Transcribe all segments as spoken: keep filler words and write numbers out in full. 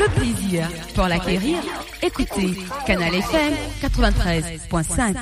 Le plaisir pour l'acquérir, écoutez Canal F M quatre-vingt-treize point cinq.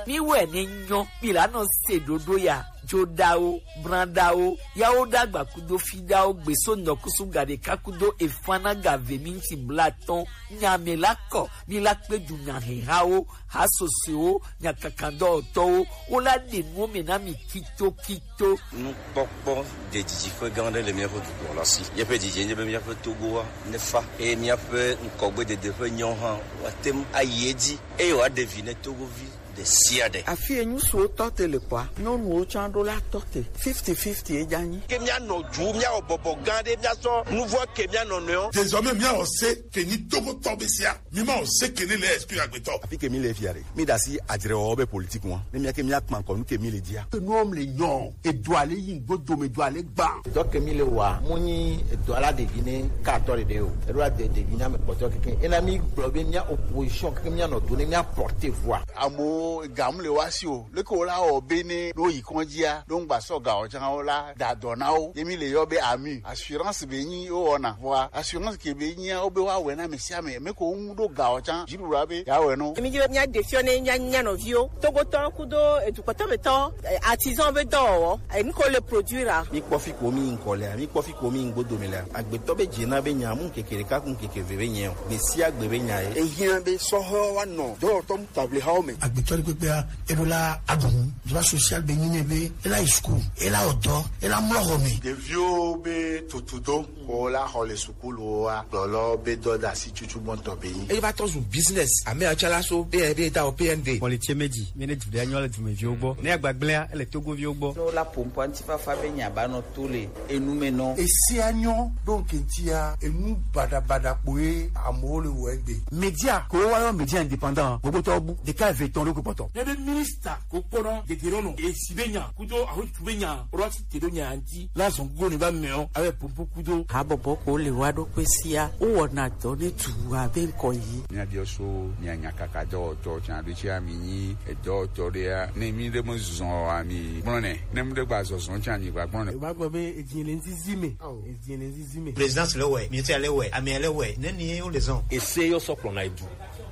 Mi wɛ ne nyɔ, mi la nɔ se ɖoɖo ya, joɖawo, branɖawo, yawo ɖagba kudo fiɖawo, gbeso nɔkusu ga ɖeka kudo efana ga ve minti blatɔn, nya me la kɔ, mi la kpe du nya hehawo, ha sosoewo, nya kakandɔwɔtɔwo, wo la ɖe nuwo me na mi kito kito. Nukpɔkpɔ ɖe didiƒe gã aɖe le míaƒe dukɔ la si. Míaƒe didi nye be míaƒe Togoa nefa eye míaƒe ŋkɔgbedede ƒe nyawo hã woate ŋu ayi edzi eye wòaɖe vi ne Togovi ɖe sia ɖe. Afi enyu siwo tɔ te le kɔa, nyɔnuwo tsã ɖo la tɔ te. Fifty fifty edza nyi. Ke míanɔ du, míawɔ bɔbɔ gã ɖe, míasɔ nuvɔ ke míanɔ nɔewo. Désormais, míawɔ se ke nyi Togotɔ be sia. Mi ma o se ke ne le esprit agbetɔ. Afi ke mi le fia ɖe. Mi ɖe asi adzrewɔwɔ be politique ŋua. Ne mía ke mía kpa ŋkɔ nu ke mi le dia. Ke nuwo le nyɔ. Edua le yi ŋgbo dome, edua le gba. Edɔ ke mi le wa, mu nyi edɔ la ɖevi ne ka atɔ ɖeɖe o. Eɖo la de ɖevi na me kpɔtɔ keke. Ena mi gblɔ be mía opposition keke mía nɔ do ne mía porte voix. Amewo ga mu le wa si o. Leke wo la wɔ be ne ɖo yi kɔndzia, ɖo ŋgba sɔ ga o tsã wo la da dɔ na wo. Ye mi le yɔ be ami. Assurance be nyi wo wɔna. Vɔa assurance ke be nyia wo be wa wɛ na me sia me. Me ko ŋu ɖo ga o tsã. Dziɖuɖu be ya wɛ no. Emi dzi be mía ɖe fiɔ ne mía, mía nɔviwo. Togotɔ kudo edukɔtɔmetɔ, eh, artisan be dɔwɔwɔ. Eh, nu ko le produire a. Mi kpɔ fi ko mi ŋkɔ lea, mi kpɔ fi ko mi ŋgbo dome lea. Agbetɔ be dze na be nya mu ŋkeke ɖeka ku ŋkeke ve be nya o. Gbe sia gbe be nya ye. Ehiã be sɔhɔ wa nɔ dɔwɔtɔ mu table hawo me. Agbetɔ ɖe kpekpea, eɖo la aɖu nu. Droit social be nyi nɛ be ela yi school, ela wɔ dɔ, ela mlɔ xɔ me. Ɖeviwo be tutudo ko la xɔ le sukuluwoa, gblɔlɔ be dɔdasi tutu gbɔntɔ be nyi. Eye va tɔ zu business. Ame atsalaso be ebe da o P N D. Kpɔli tse meji, mi ne du ɖe anyo le dumeviwo gbɔ. Ne agbagblẽa, ele Togoviwo gbɔ. Ne wola ƒo ŋkɔ ŋutifafa be nya ba nɔ to le enu me nɔ. Esia nyɔ ɖo ŋke ŋutia, enu baɖabaɖa kpoe amewo le wɔ egbe. Media, ko wa yɔ media indépendant, gbogbo tɔ bu, ɖeka eve tɔn ɖo kpɔtɔ. Ne be ministre ko kpɔnɔ dede ɖo nɔ, esi be nya, kudo ahotu be nya, ro asi te ɖo nya ŋuti, la zɔn go ne ba mɛ o, abe popo kudo. Habɔbɔ ko le wa ɖo kpe sia, wo wɔna dɔ ne tu abe ŋkɔ yi. Mía biɔ so, mía nya kaka dɔwɔtɔ, tsan ɖo tsi ami nyi, edɔwɔtɔ ɖe ya, ne mi ɖe me zɔn ami gblɔ nɛ, ne mi ɖe gba zɔzɔn tsan mi gba gblɔ nɛ. Ba gbɔ be edzi le nzizi me, edzi le nzizi me. Présidence le wɛ, ministère le wɛ, amea le wɛ, ne ni ye wo le zɔn. Ese yɔ sɔ kplɔ na edu.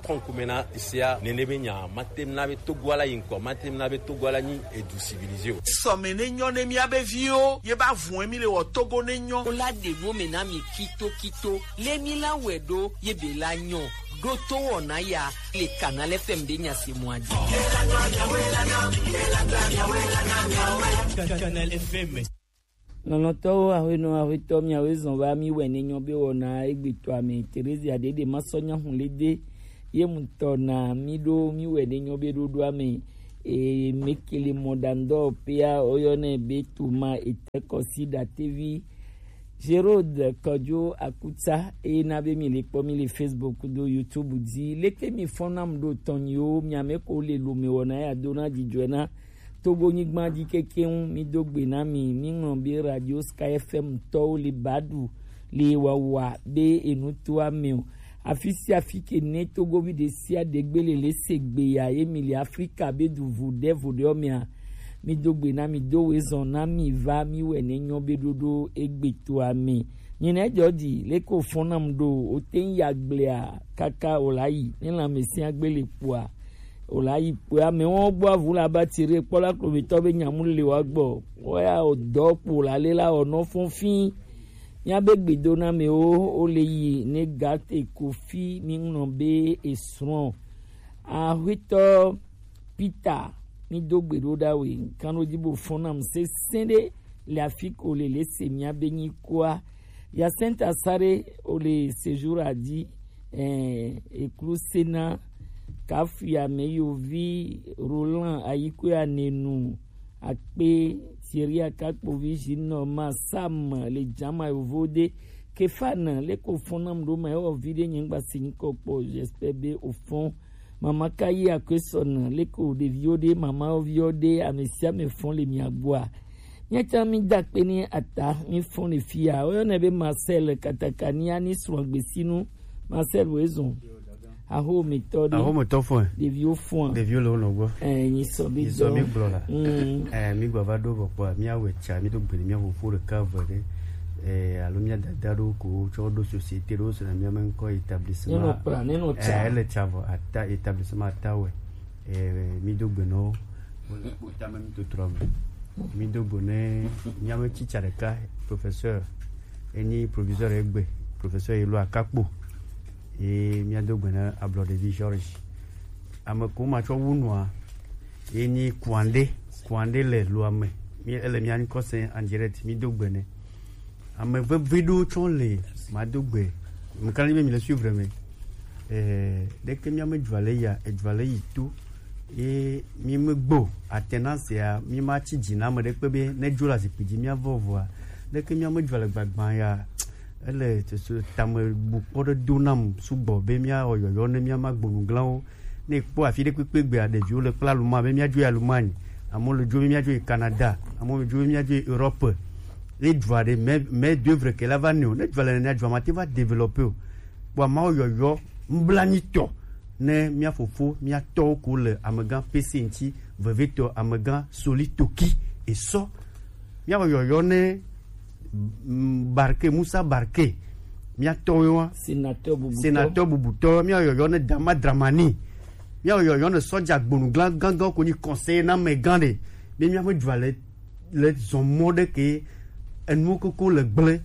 Kɔnkume na esia nene be nya, matem na be Togo ala yi ŋkɔ, matem na be Togo ala nyi edu civilisé o. Sɔme ne nyɔ ne mía be viwo, ye ba vun emi le wɔ Togo ne nyɔ. Wo la ɖe nuwo me na mi kito kito, le mi la wɛ ɖo, ye be la nyɔ. Ɖo to wɔna ya, le Canal F M be nya se mɔ adi. Canal F M. Lɔlɔ̃tɔwo, aƒenɔ, aƒetɔ, miawoe zɔn va mi wɛ ne nyɔ be wɔna egbetɔa me. Teresia ɖeɖe ma sɔ nya hun le de. Ye ŋutɔ na mi ɖo mi wɛ ne nyɔ be ɖoɖoa me. E, mekele mɔɖaŋudɔwɔƒea, woyɔnɛ be Toma Etekɔsi Ɖatevi. Gerode Kɔdzo Akutsa, eye na be mi le kpɔ mi le Facebook do YouTube dzi. Leke mi fɔn nam ɖo tɔnyiwo, miame ko le lome wɔna ya do na dzidzɔe na Togo nyigba dzi kekeŋ, mi do gbe na mi, mi ŋlɔ be Radio Sky F M tɔwo le ba ɖu le wawa be enu to ame o. Afi sia afi ke ne Togovi ɖe sia ɖe gbe le le se gbe ya ye mi le Afrika be du vo ɖe vo ɖe mea, mi do gbe na mi do we zɔn na mi va mi wɛ ne nyɔ be ɖoɖo egbe to ame. Nyina edzɔ dzi, leke wofɔna mu ɖo, wote ŋu yi agblea kaka wòla yi, ne lãmesẽa gbe le kpoa, wòla yi kpoe. Amewo gbɔ avu le aba tire kpɔ la klometɔ be nyamu le wa gbɔ. Woya wòdɔ kpo la le la wònɔ fɔn fĩi. Míabe gbedonamɛwo wole yi ne gate Kofi mi ŋlɔ be esrɔ̃. Aƒetɔ Peter, mi do gbe ɖo ɖa we, ŋkanɖodzi bo fɔn nam sesẽ ɖe le afi ko le le se mía be nyi kua. Jacinta Sare o le séjour a di, eh, eklu sena, Kafuya Meyovi, Roland Ayikwe Anenu, Akpe, Thierry Akakpovi, Jino Ma, Sam, le Jama Yovo de, Kefan, le ko fɔn nam ɖo ma, ewɔ vi ɖe nye ŋgba si nyikɔ kpɔ, j'espère be o fɔn. Mama ka yi akwe sɔna, leke wo ɖeviwo ɖe, mamawo viwo ɖe, ame sia ame fɔn le mia gbɔa. Míatsã mi da akpe ni ata, mi fɔn le fia. Woyɔnɛ be Marcel Katakania ni srɔ̃ gbesinu. Marcel wo ezɔn. Ahometɔ ɖe. Ahometɔ fɔe. Ɖeviwo fɔa. Ɖeviwo le wo nɔ gbɔ. Eh, nyi sɔ bi dɔ. Nyi sɔ bi gblɔ la. Mm. Eh, mi gba va ɖo vɔ kpɔa, mi awɛ tsa, mi do gbe ni mi awɔ fo ɖeka ve ɖe. Eh, alo mi adada ɖo ko tsɔ ɖo société ɖo sena mi ame ŋkɔ établissement. Ne nɔ kpla, ne nɔ tsa. Eh, ele tsa vɔ ata établissement ata wɛ. Eh, mi do gbe nɔ. Wole kpo tame mi to trɔ me. Mi do gbe ne mi ame tsitsa ɖeka professeur. Enyi proviseur egbe, professeur Elo Akakpo. Ye míado gbe na ablɔɖevi George. Ame ko matsɔ wu nua, ye nyi Kuande, Kuande le Loame. Mi ele mia ŋkɔ se en direct, mi do gbe nɛ. Ame vevi ɖewo tsɔ le mado gbe. Mekana be mi le suivre me. Eh, ɖeke mia me dzua le ya, edzua le yi to. Ye mi me gbo, atena sia, mi ma tsi dzi na ame ɖekpe be ne dzo le azikpui dzi mia vɔ vɔa. Ɖeke mia me dzua le gbagba ya. Ele tame bu kpɔ ɖe do nam sugbɔ be míawɔ yɔyɔ ne míama gbonuglawo. Ne kpɔ afi ɖe kpekpe gbea, ɖeviwo le kple aluma be míadzo yi aluma anyi. Amewo le dzo be míadzo yi Canada. Amewo le dzo be míadzo yi Europe. Ne dzua ɖe, mais, mais d'œuvre ke la va ne o. Ne dzua le nene, dzua mate va développer o. Kpɔ amawo yɔyɔ, nublanui tɔ. Ne mía fofo, mía tɔwo ko le amegã P C ŋuti, vevetɔ amegã Soli Toki, esɔ. Míawɔ yɔyɔ ne, mm, Barke, Musa Barke, mía tɔwo wa. Sénateur bubutɔ. Sénateur bubutɔ, míawɔ yɔyɔ ne Dama Dramani. Míawɔ yɔyɔ ne sɔdza gbonu glan gangan ko nyi conseiller na amegã ɖe. Be mía me dzua le, le zɔn mɔ ɖe ke enuwo koko le gblẽ.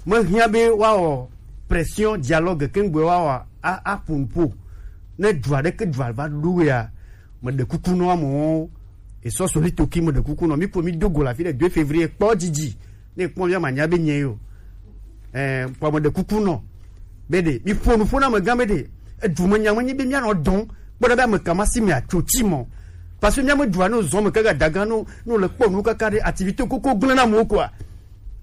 Mehiã be woawɔ pression, dialogue, ke ŋgbe woawɔ a, a, aƒo nuƒo. Ne dzua ɖeke dzua va ɖo ya, meɖe kuku nɔ amewo, esɔ Soli Toki, meɖe kuku nɔ. Mi ƒo mi do go le afi ɖe deux février, kpɔ dzidzi. Ne kpɔ mía manya be nye yo. Eh, kpɔ meɖe kuku nɔ. Be ɖe, mi ƒo nu ƒo na amegã be ɖe, edu me nya me nyi be mía nɔ dɔn. Kpɔ ɖa be ame ka ma si me atso tsi mɔ. Parce que mía me dua no zɔn me kaka daga no, no le kpɔ nu kaka ɖe, activité koko gblẽ na amewo quoi.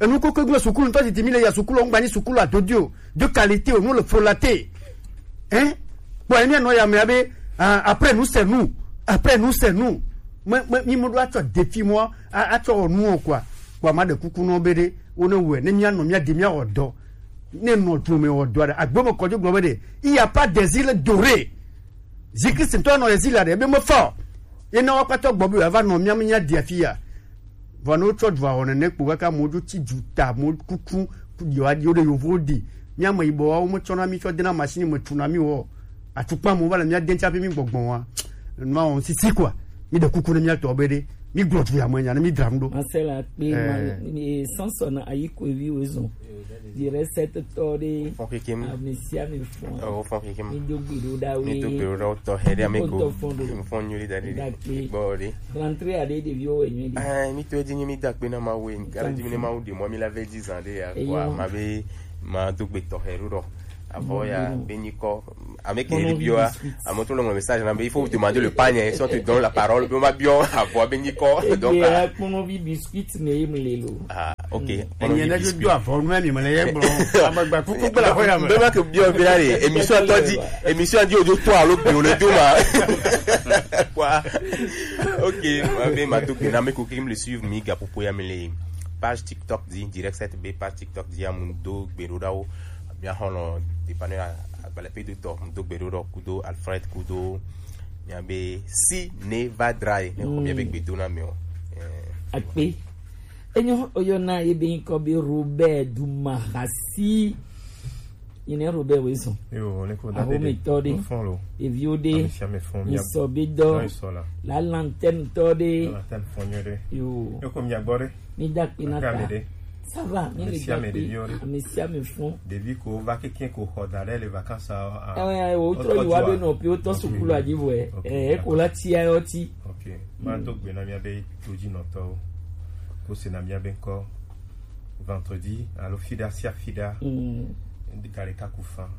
Enu koko gblẽ sukulu ŋutɔ titi mi le ya sukulu, ŋgba nyi sukulu adodio, de qualité o, nu le frolate. Hein? Kpɔ ye mía nɔ ya me abe, ah, après nous c'est nous. Après nous c'est nous. Me, me, mi me ɖo atsɔ défi mɔ, a, atsɔ wɔ nu o quoi. Kpɔ ma ɖe kuku nɔ be ɖe, wo ne wɛ, ne mía nɔ mía de mía wɔ dɔ. Ne nɔ dome wɔ dɔ ɖe, agbe me kɔdzo gblɔ be ɖe, il y a pas des îles dorées. Jésus-Christ ŋutɔ nɔ exil aɖe, ebe mefa o. Ye na woakpatɔ gbɔ be yeava nɔ mía me mía ɖi afi ya. Vɔ ne wotsɔ dua wɔ nene kpo kaka amewo dzo tsi dzu ta, amewo kuku, yewoaɖi wo ɖe yovowo ɖi. Mía me yibɔ wa, wometsɔna mí tsɔ dena machine me tuna mí wɔ. Atukpa amewo va le mía de ŋuti hafi mí gbɔgbɔ wa. Nua wɔm sisi quoi. Mí ɖe kuku ne mía tɔ be ɖe. Mí gblɔ du ya me nya ne mí dram ɖo. Marcel Akpe, eh, ma, eh, Samson Ayikoevi wo zɔn. Direct set tɔ ɖe. Fɔn kekem. Ame sia ame fɔn. Oh, fɔn kekem. Mi do gbe ɖo ɖa we. Mi do gbe ɖo ɖa wo tɔxɛ ɖe ame ko. Fɔn nyui ɖe da ɖe. Gbɔ ɖe. Rentrée aɖe ɖeviwo wɔ nyui ɖe. Ah, mi to edzi nyi mi da kpe na Mawu. Kala dzi mi ne Mawu ɖe mɔ mi la vɛ dzi zan ɖe ya. Eyo. Kpɔ ma be ma do gbe tɔxɛ ɖo ɖɔ. Avɔ ya be nyikɔ. Ame ke ɖi biɔ. Ame to le ŋlɔ message na be il faut demander le panier, si on te donne la parole, be ma biɔ avɔ be nyikɔ. Donc, ah, kpɔnɔvi biscuit me ye mu le lo. Ah, ok. Enye ne do avɔ nu mi me le ye gblɔ. Amagba kuku gbe la ko ya me. Be ma ke biɔ be la re, émission tɔ di, émission di o do to alo be o le do ma. Quoi? Ok, ma be ma do gbe na me ko ke me le suivre mi ga popo ya me le page TikTok di, direct set be page TikTok di amu do gbe ɖo ɖa wo. Mía xɔlɔ dépanneur agbalẽ pe do tɔ do gbe ɖo ɖɔ kudo Alfred kudo mía be si ne va dra ye ne xɔ mía be gbedo na mɛ o. Eh. Akpe. Enyo oyɔna ye be ŋkɔ be Robert Dumahasi. Yi ne Robert we zɔn. Yo, ne ko da de. Ahometɔ de. Fɔn lo. Eviwo de. Ame sia ame fɔn. Misɔ be dɔ. La lantɛn tɔ de. La lantɛn fɔn nyɔ de. Yo. Ne ko mia gbɔ de. Mi da kpe na ta. Ça va, mi le gbe ame sia ame fɔn. Ɖevi ko va keke ko xɔ da ɖe le vacances a. Eh, o trɔ yi wa be nɔ pi o tɔ sukulu a dzi vɔ. Eh, ko la ti ayo ti. Ok. Ma do gbe na mía be to dzi nɔtɔwo. Ko se na mía be ŋkɔ vendredi alo fiɖa sia fiɖa. Mm. Ŋdi ka ɖeka ku fan.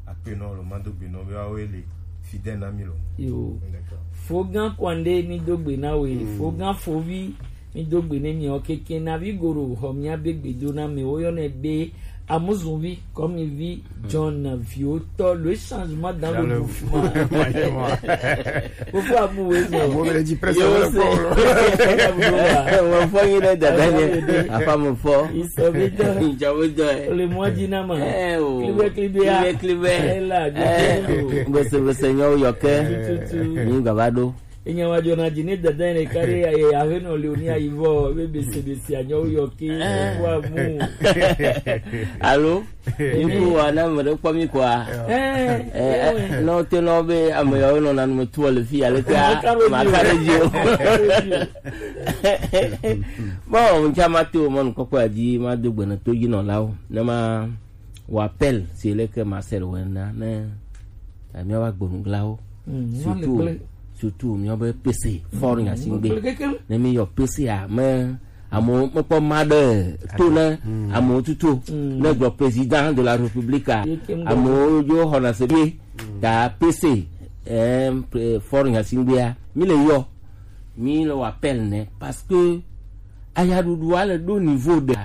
Akpe nɔ lo ma do gbe nɔ be wa wo le fidɛ na mi lo. Yo. D'accord. Fogan kwande mi do gbe na we. Mm. Fogan fovi. Mi do gbe ne mi o keke na vi goro xɔ mía be gbedo na me wo yɔnɛ be Amuzunvi, comme il vit, John Viotto, le changement dans le mouvement. Pourquoi vous voyez ça? Vous voulez dire presque le Mon frère, il est dedans. Enfin, mon frère. Ils sont dedans. Ils sont dedans. Le mois d'Inama. Eh, oh. Clibé, clibé, ah. Clibé, clibé. Eh, là, eh, je dis, oh. Bese, bese, nyo, yoke. Tout, tout, tout. Ni gavado. Enya wa jona ji ne dada ne kare ya, ya, ya, he no le oni ayi vo, be, bese, bese, anyo yo ke, eh, wa mu. Allô? Iku wa na mo de kpɔ mi kwa. Eh, eh, eh, no te no be ame yawo nɔ na nu tu le fi ale ka. Maka ɖe dzi o. Bon, ŋutsa ma to mɔnukpɔkpɔ ya dzi, ma do gbe ne to dzi nɔlawo. Ne ma wɔ appel si le ke Marcel wɔ na ne, eh, míawo agbonuglawo. Mm, surtout, surtout míawo be P C, fort nyasingbe. Ne mi yɔ P C a, me, amewo mekpɔ ma ɖe to ne amewo tutu. Ne gblɔ président de la République a, amewo dzo xɔna se bie. Ta P C, eh, pre-, fort nyasingbea, mi le yɔ, mi le wɔ appel ne, parce que ayaɖuɖua le ɖo niveau ɖe.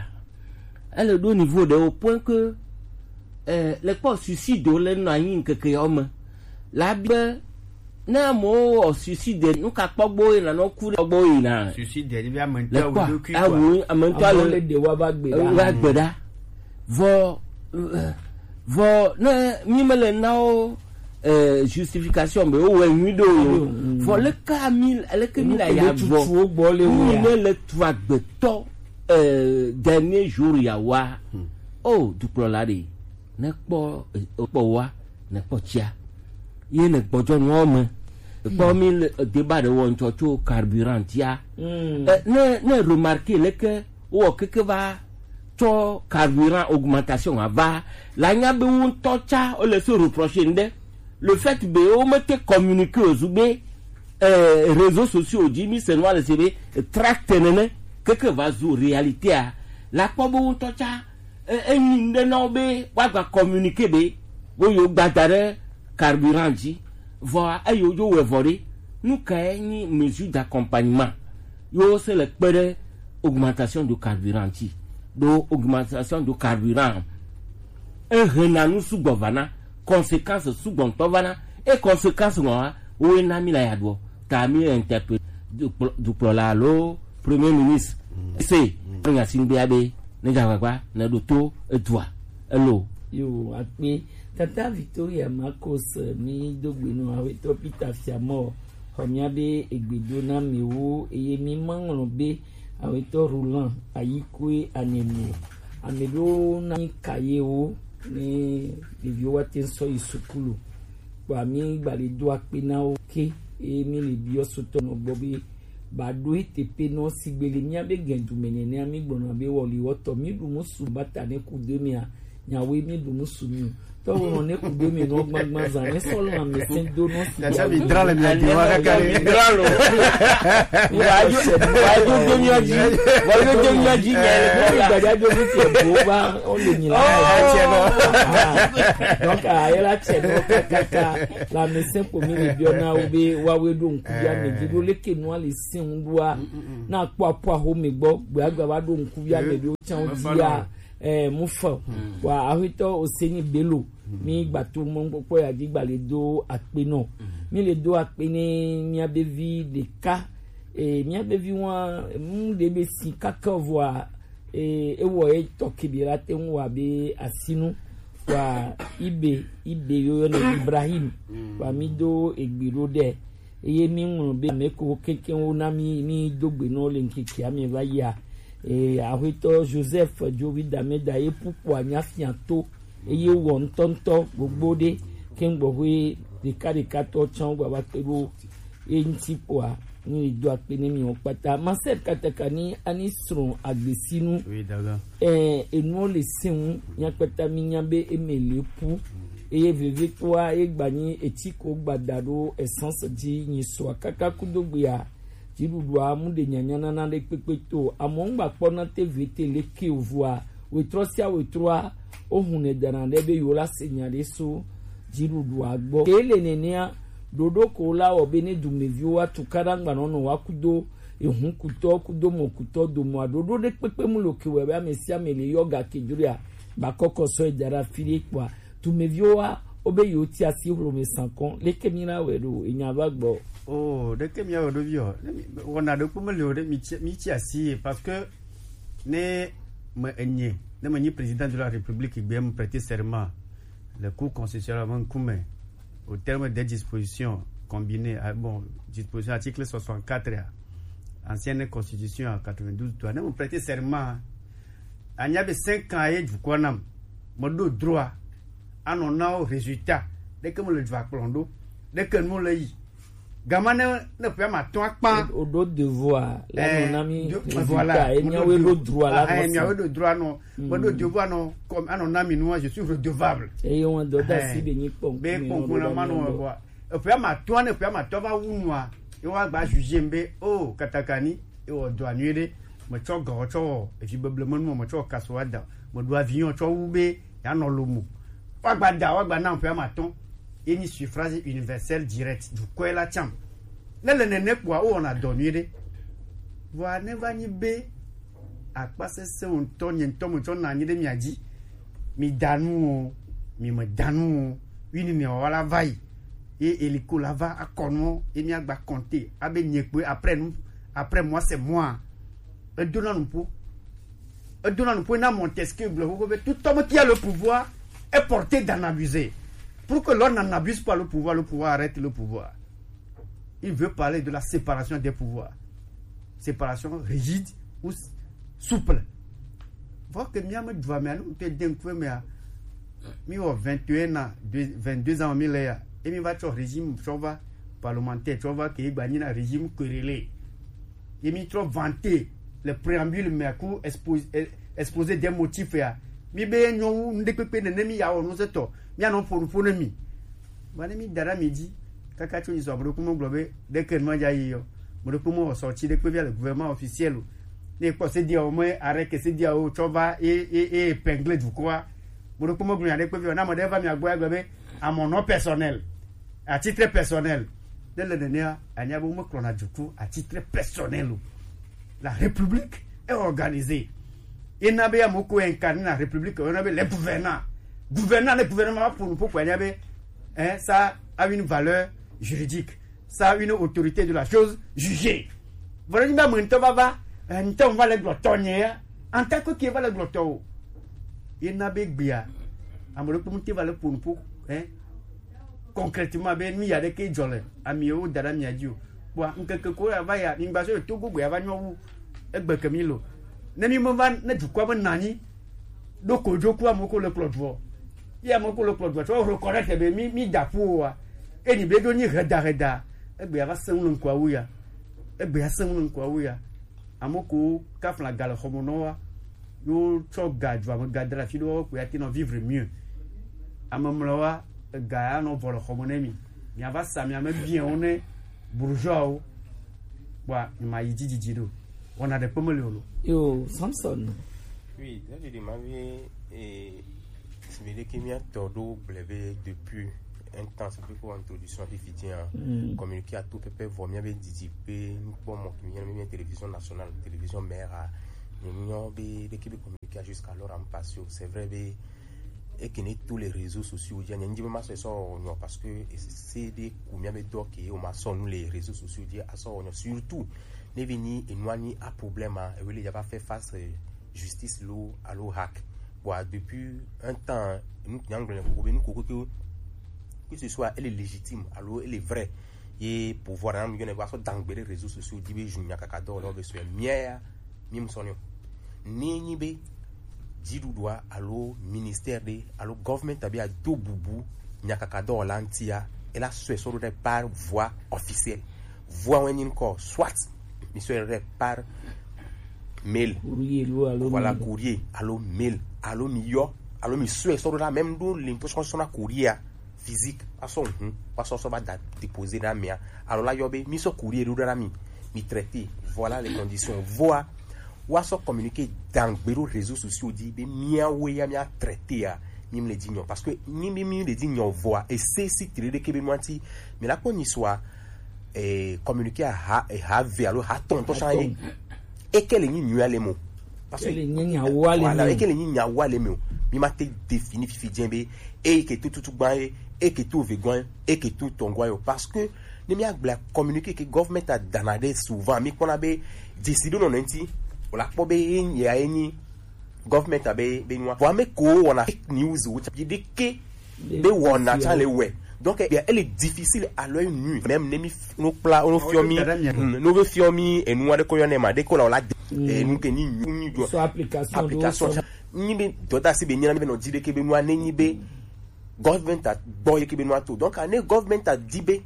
Ele ɖo niveau ɖe au point que, eh, le kpɔ suicide le nɔ anyi ŋkeke yawo me. La be, ne amewo wɔ suicide, nu ka kpɔ gbɔ yina, nɔ ku ɖe kpɔ gbɔ yina? Suicide, ni be ame ŋutɔ le kpɔ, awu ɖokui awu, kua? Ame ŋutɔ le, amewo le ɖe wa va gbe ɖa. Va gbe ɖa. Vɔ, eh, vɔ, ne mi me le na wo, eh, justification be wo wɔ nyui ɖo yo. Mm. Vɔ, le ka mi, le ke mi la ya vɔ. Mi ne le tu agbetɔ, eh, dernier jour ya wa. Hmm. Oh, dukplɔla ɖe. Ne kpɔ, eh, kpɔ wa, ne kpɔ tsia. Ye ne gbɔdzɔ nua me. Kpɔ mi le, eh, débat ɖe wɔ ŋutɔ tso carburant ya. Mm. Eh, ne, ne remarquer le ke wowɔ keke va tsɔ carburant augmentation ava la nya be wo ŋutɔ tsa wole se reprocher ŋɖe. Le fait be womete communiquer o zu be, eh, réseaux sociaux dzi mi se nua le se be, eh, tract nene keke va zu réalité a la kpɔ be wo ŋutɔ tsa, eh, enyi ŋɖe na wo be woagba communiquer be wo yewo gba da ɖe carburant dzi. Vɔa, eyi wodzo wɔe vɔ ɖe, nu kae nyi mesure d'accompagnement yewo se le kpe ɖe augmentation de carburant ŋuti? Ɖo augmentation de carburant, ehena nu sugbɔ vana, conséquence sugbɔ ŋutɔ vana, e conséquence ŋua, woe na mi la ya ɖuɔ, ta mi interpellé dukplɔ-, dukplɔla alo Premier ministre. Mm. Se, mm, nya si ŋgbea be, ne dza agbagba, ne ɖo to edua, elo. Yo, akpe. Tata Victoria Marcos, eh, mi do gbe nɔ awetɔ Peter Fiamɔ, xɔ mia be egbe do na mi wo, eye mi ma ŋlɔ be awetɔ Roland Ayikue Anemi. Ame ɖewo na mi kaye wo, ne ɖeviwo wa te sɔ yi sukulu. Kpɔ mi gba le do akpe na wo ke, eye mi le biɔ sotɔ nɔ gbɔ be, ba ɖo ete pe nɔ sigbe le mía be gɛndu me nɛnɛ, mi gblɔna be wɔli wɔtɔ, mi ɖu musu bata ne ku do mia, nyawe mi ɖu musu mi o. Tɔwo nɔ ne ku do mi nɔ gbagba zan, ne sɔ lɔ ame sɛn do nɔ si. Tata mi dra le mia di wa kaka le. Mi dra lo. Wa jo, wa jo do mia dzi. Wa jo do mia dzi nya le. Gbadza do mi se bo va, o le nyi la. Ah, donc, ah, ela tse no kaka. La ame sɛn ko mi le biɔ na wo be wa we ɖo ŋku ya me dzi ɖo leke nua le sɛn ŋu ɖoa. Na kpɔ aƒu aho me gbɔ, gbe agba va ɖo ŋku ya me ɖo tsan dzia, eh, mu fa. Wa ahwetɔ Oseni Bello, mi gba to mɔ kpɔkpɔ ya dzi gba le do akpe nɔ. Mi le do akpe ne mia be vi ɖeka, eh, mia be vi wa, mu ɖe be si kaka vɔa, eh, ewɔ ye tɔ ke bi la te ŋu wa be asinu. Wa ibe, ibe yo yɔ ne Ibrahim. Wa mi do egbe ɖo ɖe. Eye mi ŋlɔ be ame ko kekeŋ wo na mi, mi do gbe nɔ le ŋkeke ame va yia. E, ahwetɔ Joseph Jovi Dameda ye pupu anya fia to. Eye wɔ ŋutɔŋutɔ gbogbo ɖe. Ke ŋgbɔ hwe ɖeka ɖeka tɔ tsan gba va kpe ɖo. E ŋuti kpoa, ni do akpe ne mi wo kpata. Marcel Katakani ani srɔ̃ agbesinu. Oui, d'accord. Eh, enuwo le se ŋu, mía kpata mí nya be eme le ƒu. Eye vevitɔa, ye gba nyi etsi ko gba da ɖo essence dzi nyi sɔa kaka kudo gbea, dziɖuɖua mu ɖe nyanya nana ɖe kpekpe to. Amewo ŋgba kpɔna te vete le ke o vɔa, wetrɔ sia wetrɔa, wo hunɛ dana ɖe be yewo la se nya ɖe so dziɖuɖua gbɔ. Ke le nenea, ɖoɖo ko la wɔ be ne dumeviwo wa tukaɖa ŋgba nɔ nɔ wa kudo Ehun kutɔ kudo mɔ kutɔ domɔ aɖoɖo ɖe kpekpe mu lo ke wɔ be ame sia ame le yɔ ga ke dzroa. Ba kɔkɔ sɔ eda ɖe afi ɖe kpɔa, tumeviwo wa wo be yewo ti asi hlome sankɔn. Leke mi na wɛ ɖo enya va gbɔ? Oh, ɖeke mi awɛ ɖo vi o. Ne mi wɔna ɖokpo me le o ɖe mi ti, mi ti asi ye, parce que ne me enye, ne me nyi président de la République gbe me prêter serment le Cour constitutionnelle me ŋkume au terme des dispositions combinées, ah, bon, disposition article soixante-quatre, ah, ancienne constitution à quatre-vingt-douze, toi, ne me prêter serment, anya be cinq ans ye dukɔ nam, me ɖo droit anɔ na wo résultat ɖeke me le dua kplɔn ɖo, ɖeke nu le yi. Gama ne, ne ƒe ma tɔn akpa. O ɖo devoir la nɔ na mi. Voilà, résultat, e miawo ɖo droit la. Ah, miawo ɖo droit nɔ. Me ɖo devoir nɔ, comme anɔ na mi nua, je suis redevable. Eye wọn dɔ da si be nyi kpɔn. Be kpɔn na ma nɔ bɔ. Eƒe ma tɔn, ne ƒe ma tɔn va wu nua, e wa gba juger be, oh, katakani, e wɔ dɔ anui ɖe. Me tsɔ gɔ tsɔ wɔ evi beble menu, me tsɔ kaso wa da. Me ɖo avion tsɔ wu be ya nɔ lomo. Wa gba da, wa gba na ƒe ma tɔn. Ye nyi suffrage universel direct, dukɔe la tsam. Ne le nene kpɔa, wowɔna dɔ nyuie ɖe. Vɔa ne va nyi be akpa sese wo ŋutɔ, nye ŋutɔ me tsɔ na anyi ɖe mia dzi. Mi da nu o, mi me da nu o. Wi ni ne wa la va yi. Ye eliko la va akɔ nu, ye mi agba compter. Abe nye kpe après nous, après moi c'est moi. Edona nupo. Edona nupo na Montesquieu gblɔ xoxo be tout homme qui a le pouvoir est porté d'en abuser. Pour que l'on n'en abuse pas le pouvoir, le pouvoir arrête le pouvoir. Il veut parler de la séparation des pouvoirs. Séparation rigide ou s-, souple. Voir que miame dua me anu te den kwe me a. Mi wɔ vingt et un ans, deux, vingt-deux ans mi le ya. Et mi va tsɔ régime tsɔ va parlementaire, tsɔ va ke gba nyi na régime querellé. Ye mi trɔ vanter le préambule me ku expo-, eh, exposé des motifs ya. Mi be nyɔ wu ŋɖekpekpe nene mi ya wɔ nu se tɔ. Mi anɔ ƒo nu ƒo ne mi. Ba ne mi da ɖe mi dzi. Kaka tso yi sɔ, ame ɖokpo me gblɔ be ɖeke nu ma dza yi yɔ. Ame ɖokpo me wɔ sortie ɖekpe via le gouvernement officiel o. Ne kpɔ se dia o me arrêt ke se dia o tsɔ va e, e, e épingler dukɔa. Ame ɖokpo me gblɔ nya ɖekpe via o. Na ame ɖe va mia gbɔ ya gblɔ be à mon nom personnel. À titre personnel. Ne le nenea, anya be womekplɔna duku à titre personnel o. La République est organisée. Ena be ame ko incarne la République, on a be les gouvernants. Gouvernants, les gouvernements pour nous, pourquoi il y avait, hein, ça a une valeur juridique, ça a une autorité de la chose jugée. Voilà, il m'a dit, va, va, hein, on va les glotonner, hein. En tant que qui va les glotter, il n'a be gbia. Ame ɖokpo ŋuti va le ƒo nu ƒo, hein, concrètement be nu ya ɖeke dzɔ le amiwo da ɖe amia dzi o. Kpɔa ŋkeke ko ya va ya, mi gba so to gbogbo ya va nyɔ wu egbe ke mi lo. Ne mi me va, ne dukɔa me na anyi ɖo ko dzoku ame ko le kplɔ dua. Ye ame ko le kplɔ dua tsɔ reconnaître be mi, mi da ƒu o wa. E ni be ɖo nyi heda heda. Egbe ya va se ŋu le ŋkɔa wu ya. Egbe ya se ŋu le ŋkɔa wu ya. Ame ko kafla ga le xɔme nɔ wa. Yo tsɔ ga dua me ga da ɖe afi ɖewo ko ya te nɔ vivre mieux. Ame mlɔ wa, ega ya nɔ vɔ le xɔme ne mi. Mia va sa mia me bien wo ne bourgeois wo. Kpɔa, ma yi dzi didi ɖo. Wɔna ɖe kpeme le o lo. Yo, Samson. Oui, là, je demande, eh, si mi ɖeke mia tɔ ɖo gblɔ be depuis un temps, c'est plus pour introduction fi fiti, hein. Mm. Communiqué à tout pépé, vɔ mia be didi be nukpɔ mɔ ke mia be télévision nationale, télévision mère, ni mia be, be ke be communiqué jusqu'alors en passé. C'est vrai be, et que ne tous les réseaux sociaux, je ne dis pas ça, ça, non, parce que c'est des combien de doc et on m'a sonné les réseaux sociaux, je à ça, non, surtout, ne vini et nous ni a problème, hein, et oui, il y a pas fait face, euh, justice lo alo hack. Bon, depuis un temps, nous, nous, nous, nous, nous, que ce soit elle est légitime, alors elle est vraie. Et pouvoir, hein, nous, nous, nous, dans les réseaux sociaux, dire, je n'ai qu'à cadre, là, je suis mia, mi me sonne. Ni, ni be, dziɖuɖua alo ministère ɖe alo government abe ado bubu nyakakadɔwɔla ŋutia, ela sɔe sɔ ɖo ɖe par voie officielle. Voie wɛ nyi ŋkɔ, soit mi sɔe ɖe par mail. Courrier lo alo voilà, mail. Courrier alo mail, alo mi yɔ, alo mi sɔe sɔ ɖo la même ɖo le ŋkɔ sɔ sɔ na courrier physique, asɔ ŋu, asɔ sɔ va da déposer ɖe amea. Alors la yɔ be, mi sɔ courrier ɖo ɖe mi, mi traité, voilà les conditions. Voa, wa sɔ communiqué dangbe ɖo réseaux sociaux dzi be miawoe ya mia traité ya, mi mle dzi nyɔ. Parce que ni mi, mi le dzi nyɔ voa, ese si tri ɖeke be nua ti, mi la kpɔ nyi soa, eh, communiqué ha, eh, ha ve alo ha tɔntɔ sa ye. Eke le nyi nyuia le mo. Parce que eke le nyi nyawo ale me o. Eke le nyi nyawo ale me o. Mi ma te définir fifi jɛ be, e ke tututu gban ye, e ke tu ve gban, e ke tu tɔngwa yo. Parce que ne mi agblɔ communiqué ke government a dana de souvent, mi kpɔna be décision nɔ nɛnti, o la kpɔ be ye ya ye ni government a be, be nua. Vɔ ame ko wɔna fake news wo tsa, yi de ke be wɔna tsa le wɛ. Donc, eh bien, elle est difficile à l'œil nu. Même ne mi f-, no kpla, no fiɔ mi, hmm, no be fiɔ mi, e nu wa de ko yɔ ne ma, de ko la, o la de, e nu ke ni nyu, nyu jɔ. Sur application, application. Nyi be dɔda si be nyina be nɔ di de ke be nua ne nyi be government a gbɔ ye ke be nua to. Donc, ne government a di be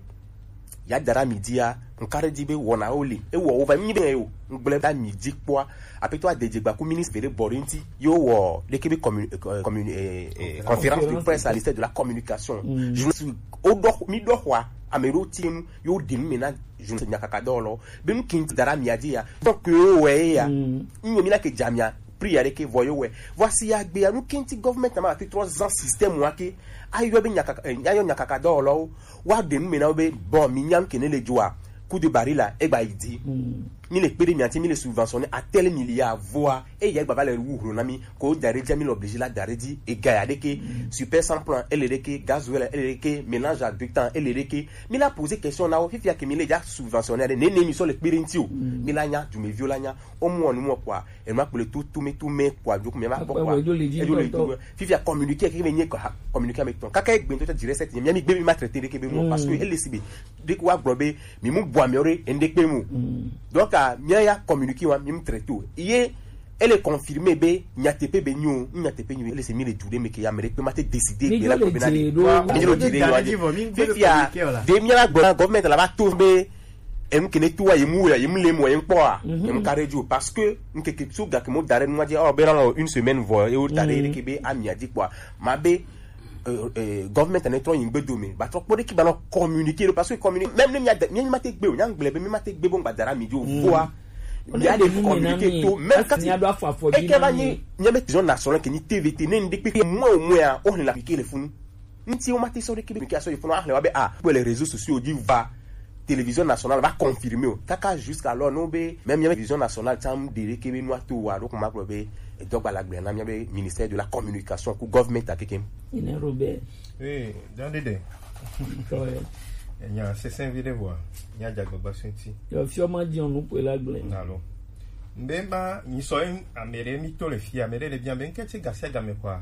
ya dara mi di ya, n kare di be wɔna o le. E wɔ o va nyi be o. N gblɛ da mi di kpɔa. Apeto a de dze gba ku ministre de bɔri nti. Yo wɔ de ke be commu-, euh, commu-, euh, euh, conférence de presse à l'Institut de la communication. Je me suis, o dɔ, mi dɔ xɔa, ame ɖo ti nu, yo de nu me na, je ne sais, nyakaka dɔ lɔ. Be nu kinti dara mi a di ya. Donc, yo wɛ ya. Nyo mi na ke jamia. Prière ke vɔ yo wɛ. Voici ya gbe ya nu kenti government na ma fi trois ans système wa ke. Ayo be nyakaka, eh, ayo nyakaka dɔ lɔ. Wa de nu me na be bon mi nyam ke ne le joa. Coup de barre la, e gba yi di. Mi le kpe de mi ati mi le subventionné à tel milliard voa. E ya gba va le wu hlo na mi. Ko dare di mi le obligé la dare di. E ga ya de ke. Super sans plan, e le de ke. Gasoil, e le de ke. Mélange à deux temps, e le de ke. Mi la poser question na o. Fifi ya ke mi le ja subventionné de. Ne, ne mi so le kpe de nti o. Mi la nya, du me vio la nya. O mo nu mo kwa. E ma kple tu, tu me, tu me, kwa, du me ma kpɔ, kwa. Akpɛ wɔ, edzo le dzi ŋutɔ. Fifi ya communiqué, ke me nye ko ha, communiqué ame tɔn. Kaka egbe ŋutɔ dzi reset, mi, mi gbe mi ma traité de ke be mo, parce que ele si be, de ko wa gblɔ be, mi mu bua mi ore, ende kpe mo. Donc, a, mi ya communiqué wa, mi mu traité o. Ye, ele confirmé be, nyateƒe be nyo, nyateƒe nyo, ele se mi le du de me ke ya, me de kpe ma te décider, mi be la dzo le ko be na dze di. Ɖo. Mi dzo le dzi de yo, dzi vɔ, mi gbe be communiqué o la. Fi, fi ya, de mi la gblɔ na government la va to be, Em kene tu wa yemu ya, yemu lemu wa, yem kpɔ wa, yem kare ju, parce que n keke su gake mo dare nua je, oh, be la une semaine vo, e o dare ke be ami a di kpɔ. Ma be, euh, euh, government ne trɔ yin gbe do me, ba trɔ kpɔ de ki ba no communiquer, parce que communiquer, même ne mi a de, mi ma te gbe o, nya ngble be mi ma te gbe bo ngba dara mi jo vo a. Mi a de communiquer to, même quand il y a droit à fo, e ke ba ni, ni be télévision nationale ke ni T V T, ne ndekpe mo mo ya, o ni la piquer le funu. Nti wo ma te sɔ ɖe kebe ke asɔ yi funu ahle wa be, ah, kpɔ le réseaux sociaux dzi va télévision nationale va confirmer o. Kaka jusqu'alors no be même mía télévision nationale tsam ɖe ɖe kebe nua to wa ɖo kuma kplɔ be edɔgba la gblẽ na mía be ministère de la communication ku government akekem. Ine Robert. Eh, dan ɖe ɖe. Tɔye. Nya sesẽ vi ɖe vɔa, nya dzagbagba sɔ̃ ŋuti. Yo fiɔ ma dzi nu kpe la gblẽ. Alo. Mbe ma, nyi sɔ ame ɖe mi to le fia, ame ɖe le bia be ŋkɛ tsi gasi agame kɔa.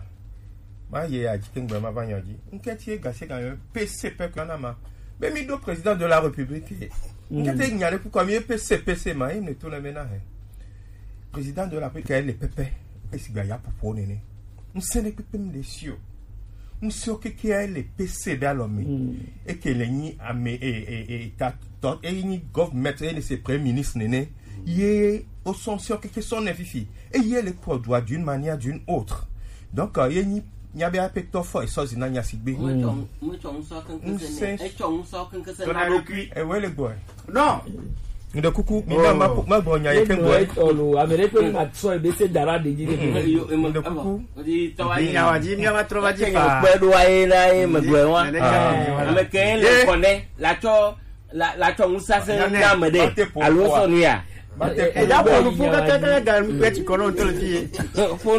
Ma ye ya dzi ke ŋgbe ma va nya dzi. Ŋkɛ tsi gasi agame P C P kɔa na ma. Be mi ɖo président de la République. Ŋkɛ tsi nya ɖe kukɔ mi P C P C ma, ye ne to le me na he. Président de la République le pɛpɛ. Esi gba ya popo nene. Ŋsẽ ɖe kpekpe mi le si o. Ŋsẽ o keke ya le P C be alɔ me. Eke le nyi ame, e, e, e, ta, tɔ, e nyi government, e ne se premier ministre nene. Ye o sɔn ŋsẽ o keke sɔn ne fifi. E ye le kpɔ dua d'une manière d'une autre. Donc, euh, ye nyi, nya be ape tɔ fɔ e sɔ zina nya si gbe. Ŋsẽ. Tona ɖokui. E we le gbɔ. Non. Ŋɖe kuku, mi ma, ma, ma gbɔ nya ye ke gbɔ. Etɔ lo, ame ɖe kpe ma sɔ ebe se dara de dzi de. Ŋɖe kuku. Mi nya wa dzi, mi va trɔ va dzi fa. Kpe ɖo aye na ye me gbɔ wa. Ame ke le kɔnɛ, la tsɔ, la, la tsɔ ŋusase na ame ɖe. Alo sɔ nu ya. Eya bɔ nu fu kaka kaka ga nu kpe ti kɔnɔ to le fi ye. Fo nu